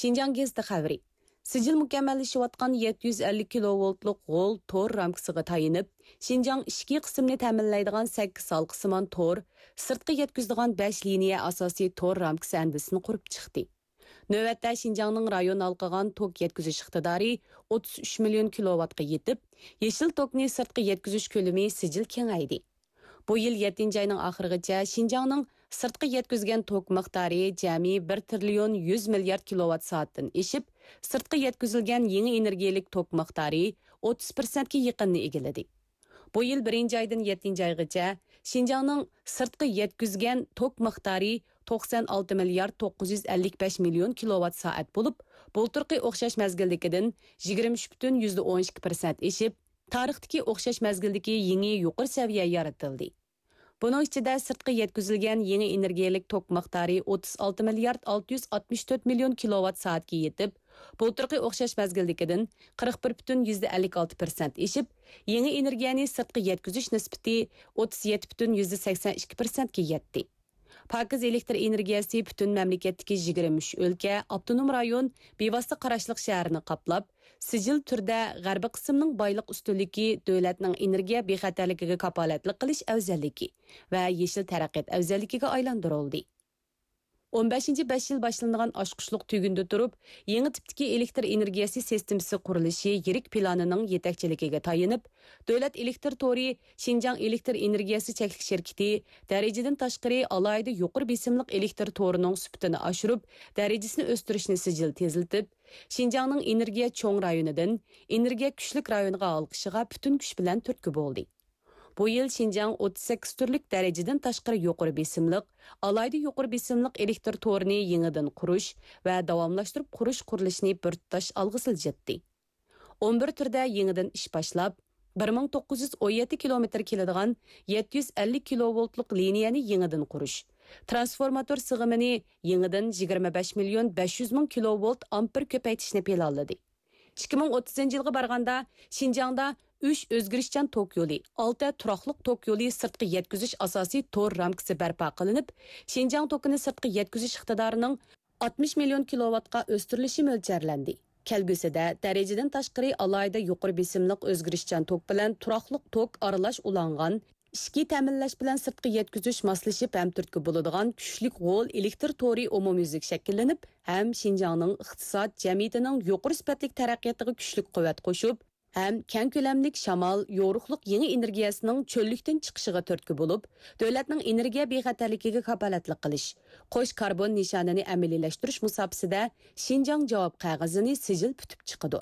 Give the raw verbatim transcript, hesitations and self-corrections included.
شىنجاڭ گېزىتى خەۋىرى. سىجىل مۇكەممەللىشىۋاتقان يەتتە يۈز ئەللىك كىلوۋولتلۇق غول تور رامكىسىغا تايىنىپ، شىنجاڭ ئىچكى قىسىمنى تەمىنلەيدىغان سەككىز ھالقىسىمان تور سىرتقا يەتكۈزىدىغان بەش لىنىيە ئاساسىي تور رامكىسى ئەندىزىسىنى قۇرۇپ چىقتى. نۆۋەتتە شىنجاڭنىڭ رايون ھالقىغان توك يەتكۈزۈش ئىقتىدارى ئوتتۇز ئۈچ مىليون كىلوۋاتقا يېتىپ، يېشىل توكنى سىرتقا يەتكۈزۈش كۆلىمى سىجىل كېڭەيدى. بۇ يىل يەتتىنچى ئاينىڭ ئاخىرىغىچە شىنجاڭنىڭ سىرتقا يەتكۈزگەن توك مىقدارى جەمئىي بىر تىرىليون يۈز مىليارد كىلوۋات سائەتتىن ئېشىپ، سىرتقا يەتكۈزۈلگەن يېڭى ئېنېرگىيەلىك توك مىقدارى ئوتتۇز پىرسەنتكە يېقىننى ئىگىلىدى. بۇ يىل بىرىنچى ئايدىن يەتتىنچى ئايغىچە شىنجاڭنىڭ سىرتقا يەتكۈزگەن توك مىقدارى توقسان ئالتە مىليارد توققۇز يۈز ئەللىك بەش مىليون كىلوۋات سائەت بولۇپ، بۇلتۇرقى ئوخشاش مەزگىلدىكىدىن يىگىرمە ئۈچ پۈتۈن يۈزدە ئون ئىككى پىرسەنت ئېشىپ، تارىختىكى ئوخشاش مەزگىلدىكى يېڭى يۇقىرى سەۋىيە يارىتىلدى. بۇنىڭ ئىچىدە سىرتقا يەتكۈزۈلگەن يېڭى ئېنېرگىيەلىك توك مىقدارى ئوتتۇز ئالتە مىليارد ئالتە يۈز ئاتمىش تۆت مىليون كىلوۋات سائەتكە يېتىپ، بۇلتۇرقى ئوخشاش مەزگىلدىكىدىن قىرىق بىر پۈتۈن يۈزدە ئەللىك ئالتە پىرسەنت ئېشىپ، يېڭى ئېنېرگىيەنى سىرتقا يەتكۈزۈش نىسبىتى ئوتتۇز يەتتە پۈتۈن يۈزدە سەكسەن ئىككى پىرسەنتكە يەتتى. پاكىز ئېلېكتر ئېنېرگىيەسى پۈتۈن مەملىكەتتىكى يىگىرمە ئۈچ ئۆلكە، ئاپتونوم رايون، بىۋاسىتە قاراشلىق شەھەرنى قاپلاپ، سىجىل تۈردە غەربىي قىسىمنىڭ بايلىق ئۈستۈنلۈكى، دۆلەتنىڭ ئېنېرگىيە بىخەتەرلىكىگە كاپالەتلىك قىلىش ئەۋزەللىكى ۋە يېشىل تەرەققىيات ئەۋزەللىكىگە ئايلاندۇرۇلدى. ئون بەشىنچى بەش يىل باشلىنىدىغان ئاچقۇچلۇق تۈگۈندە تۇرۇپ، يېڭى تىپتىكى ئېلېكتر ئېنېرگىيەسى سىستېمىسى قۇرۇلۇشى يىرىك پىلانىنىڭ يېتەكچىلىكىگە تايىنىپ، دۆلەت ئېلېكتر تورى شىنجاڭ ئېلېكتر ئېنېرگىيەسى چەكلىك شىركىتى دەرىجىدىن تاشقىرى ئالاھىدە يۇقىرى بېسىملىق ئېلېكتر تورىنىڭ سۈپىتىنى ئاشۇرۇپ، دەرىجىسىنى ئۆستۈرۈشنى سىجىل تېزلىتىپ، شىنجاڭنىڭ ئېنېرگىيە چوڭ رايونىدىن ئېنېرگىيە كۈچلۈك رايونغا ھالقىشىغا پۈتۈن كۈچ بىلەن تۈرتكە بولدى. بۇ يىل شىنجاڭ ئوتتۇز سەككىز تۈرلۈك دەرىجىدىن تاشقىرى يۇقىرى بېسىملىق، ئالاھىدە يۇقىرى بېسىملىق ئېلېكتر تورىنى يېڭىدىن قۇرۇش ۋە داۋاملاشتۇرۇپ قۇرۇش قۇرۇلۇشىنى بىر تۇتاش ئالغا سىلجىتتى. ئون بىر تۈردە يېڭىدىن ئىش باشلاپ، بىر مىڭ توققۇز يۈز ئون يەتتە كىلومېتىر كېلىدىغان يەتتە يۈز ئەللىك كىلوۋولتلۇق لىنىيەنى يېڭىدىن قۇرۇش، ترانسفورماتور سىغىمىنى يېڭىدىن يىگىرمە بەش مىليون بەش يۈز مىڭ كىلوۋولت ئامپېر كۆپەيتىشنى پىلانلىدى. ئىككى مىڭ ئوتتۇزىنچى يىلغا بارغاندا، شىنجاڭدا ئۈچ ئۆزگىرىشچان توك يولى، ئالتە تۇراقلىق توك يولى سىرتقا يەتكۈزۈش ئاساسىي تور رامكىسى بەرپا قىلىنىپ، شىنجاڭ توكىنى سىرتقا يەتكۈزۈش ئىقتىدارىنىڭ ئاتمىش مىليون كىلوۋاتقا ئۆستۈرۈلۈشى مۆلچەرلەندى. كەلگۈسىدە دەرىجىدىن تاشقىرى ئالاھىدە يۇقىرى بېسىملىق ئۆزگىرىشچان توك بىلەن تۇراقلىق توك ئارىلاش ئۇلانغان ئىچكى تەمىنلەش بىلەن سىرتقا يەتكۈزۈش ماسلىشىپ ھەم تۈرتكە بولىدىغان كۈچلۈك غول ئېلېكتر تورى ئومۇميۈزلۈك شەكىللىنىپ، ھەم شىنجاڭنىڭ ئىقتىساد، جەمئىيىتىنىڭ يۇقىرى سۈپەتلىك تەرەققىياتىغا كۈچلۈك قۇۋۋەت قوشۇپ، ھەم كەڭ كۆلەملىك شامال، يورۇقلۇق يېڭى ئېنېرگىيەسىنىڭ چۆللۈكتىن چىقىشىغا تۈرتكە بولۇپ، دۆلەتنىڭ ئېنېرگىيە بىخەتەرلىكىگە كاپالەتلىك قىلىش، قوش كاربون نىشانىنى ئەمەلىيلەشتۈرۈش مۇساپىسىدە شىنجاڭ جاۋاب قەغىزىنى سىجىل پۈتۈپ چىقىدۇ.